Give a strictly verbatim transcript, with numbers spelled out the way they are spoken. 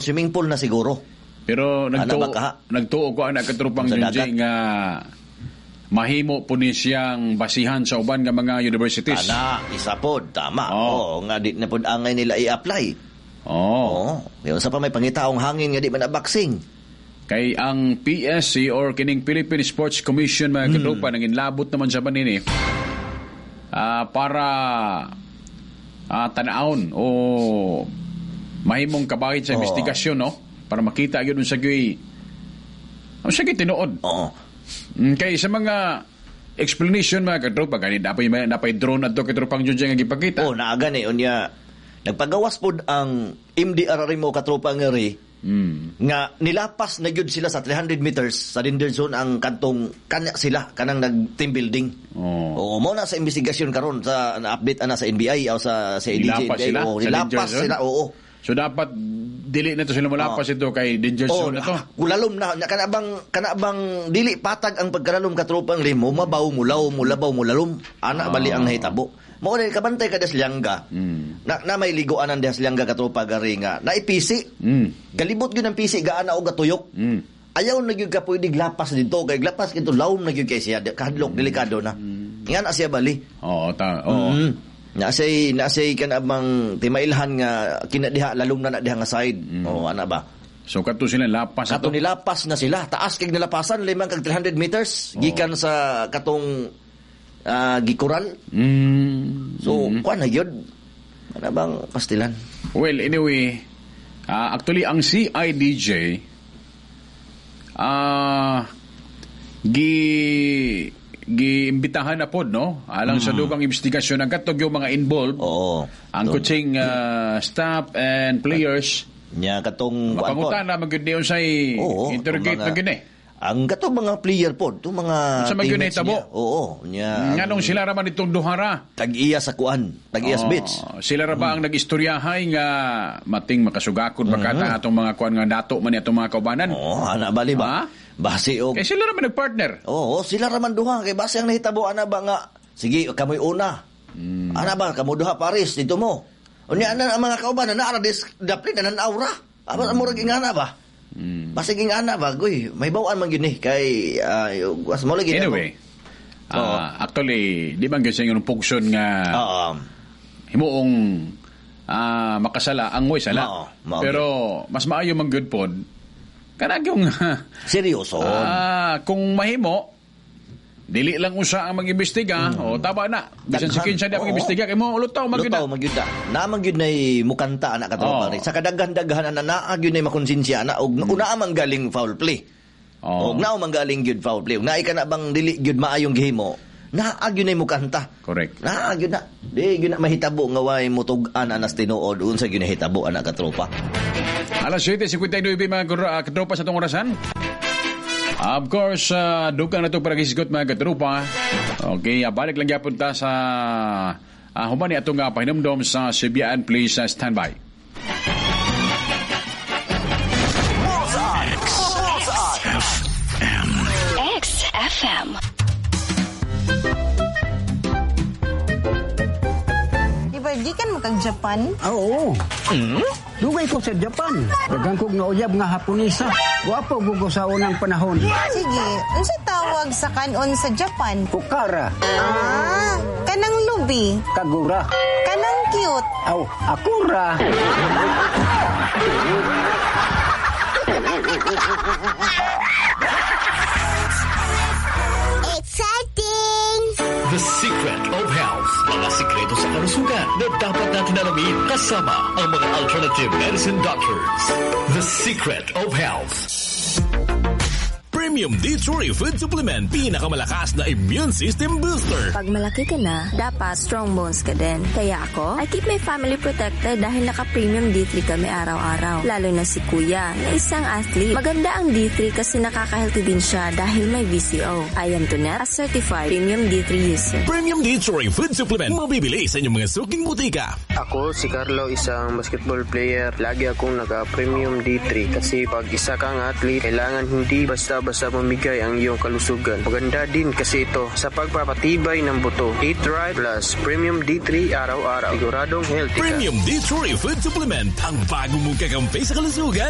Swimming pool na siguro. Pero Ana nagtuo ba ka? Nagtuo ko ana, katropang Sa Junji, dagat? Nga mahimo po ni siyang basihan sa uban nga mga universities. Ana, isa pod, tama. Oo. Oo, nga di na pod angay nila i-apply. Oo. Oo. Kaya sa pa may pangitaong hangin nga di man na boxing. Kay ang P S C or kining Philippine Sports Commission, mga Hmm. katropa, nangin labot naman sa banini ah, para ah, tan-awon o mahimong kabahit sa Oo. investigasyon, no, para makita gyud unsa gyud unsa gyud tinuod. Oo. Mm, kay sa mga explanation, mga katropa, gani napay napay drone adto, katropang Junjun, nga gipakita. Oh, naa gani unya. Nagpagawas pod ang M D R mo, katropa, nga ri Mm. nga nilapas na gyud sila sa three hundred meters sa danger zone ang kantong kanya sila kanang nag team building. Oh. Oo, mo na sa investigasyon karon sa na-update ana sa N B I o sa sa A D J. Nilapas sila Oo, sa danger nilapas zone? sila, oo. So dapat dili na to sila mulapas ito kay danger Oh, zone na to. Kulalom na na kana bang kana bang dili patag ang pagkalalom, katropang limo, mabaw mulaw mulabaw mulalom ana bali ang nahitabo. Mao ni kabantay ka des Lianga. Mm. Na, na may liguanan des Lianga, katropa, gari nga naipisi. Mm. Galibot gyud ang pisi gaana og gatuyok. Mm. Ayaw na gyud ka pwede lapas dito kay lapas dito lawom na gyud kay siya, kahadlok, delikado na. Nga na siya bali. Oo, ta oo. Mm. Na say na say kana bang timailhan nga kinadiha lalom na na diha nga side. Oh, ana ba? So kadto sila lapas Kato ato. Nilapas na sila. Taas kay nilapasan, limang kag three hundred meters gikan sa katong ah, gikural. Mm. So kuan na gyud. Ana bang pastilan? Well, anyway, ah, actually ang C I D J ah gi giimbitahan na pod, no, alang sa dugang investigasyon ang katog yung mga involved, Oo. ang coaching ah, staff and players. Nya katong kuan pod. Mapangutan na magyud ni unsay Oo, interrogate itong mga- na gyud eh. Ang katong mga player pod, itong mga Unsa man gyud teammates nahitabo? niya. Oo, nya. Nganong sila ra man itong duhara? Tag-iya sa kuan, tag-iya sa Oh, beach. sila ra ba ang nag-istoryahay nga mating makasugakod mm -hmm. atong mga kuan nga dato man ni atong mga kaubanan? Oo, ana bali ba? Ha? Base og Kay sila ra man nagpartner. Oo, sila ra man duha kay base ang nahitabo ana ba nga sige kamoy una. Hmm. Ana ba kamo duha Paris dito mo. Unya ana ang mga kauban na naara dis dapli na aura. Aba mm. murag ingana ba? Mm. Basig ingana ba goy, may bawaan man gyud ni kay uh, was mo lagi Anyway, ah, actually, di ba gyud sa inyong function nga Oo. himuong ah, makasala ang mo'y sala. Mao, mao. Pero mas maayo man gyud pod kanang yung Seryoso. ah, kung mahimo dili lang usa ang mag-imbestiga o tama na. Bisan si Daghan. kinsa di Oo. mag-imbestiga kay mo lutaw man gyud na. Lutaw man gyud na. Naa man gyud nay mukanta ana, katropa Oo. rin. Sa kadaghan-daghan ana naa gyud nay makonsensya ana og una man galing foul play. Oo. Og naa man galing gyud foul play. Og naay ka na bang dili gyud maayong gihimo, naa gyud nay mukanta. Correct. Naa gyud na. Di gyud na mahitabo nga way mutug-an anas tinuod unsa gyud nahitabo ana, katropa. Alas siyete singkwenta y nuwebe, mga kuro- ah, katropa, sa itong orasan. Of course, uh, dugang na ito para kisgot, mga katropa. Okay, uh, balik lang gyapon ta sa uh, human ni atong uh, pahinumdom sa Sibian. Please uh, stand by. X F M. X F M. Di ba, gikan mo kag Japan? Ah, oo. Dugay ko sa Japan. Daghan kog nauyab nga Haponesa. Gwapo gugo sa unang panahon. Sige, unsa tawag sa kanon sa Japan? Kukara, Ah, kanang lubi, kagura, kanang cute. aw, akura. Exciting! The Secret of Health. Mga sikreto sa kalusugan na dapat natin alamin kasama ang mga alternative medicine doctors. The Secret of Health. Premium D three Food Supplement, pinakamalakas na immune system booster. Pag malaki ka na, dapat strong bones ka din. Kaya ako, I keep my family protected dahil naka-premium D three kami araw-araw. Lalo na si Kuya, na isang athlete. Maganda ang D three kasi nakaka-healthy din siya dahil may V C O. I am Tonet, a certified premium D three user. Premium D three Food Supplement, mabibili sa inyong mga suking butika. Ako si Carlo, isang basketball player. Lagi akong naka-premium D three kasi pag isa kang athlete, kailangan hindi basta-basta sa mamigay ang iyong kalusugan. Maganda din kasi ito sa pagpapatibay ng buto. Eat right plus Premium D three araw-araw. Siguradong healthy ka. Premium D three Food Supplement, ang bago mong kakampi sa kalusugan.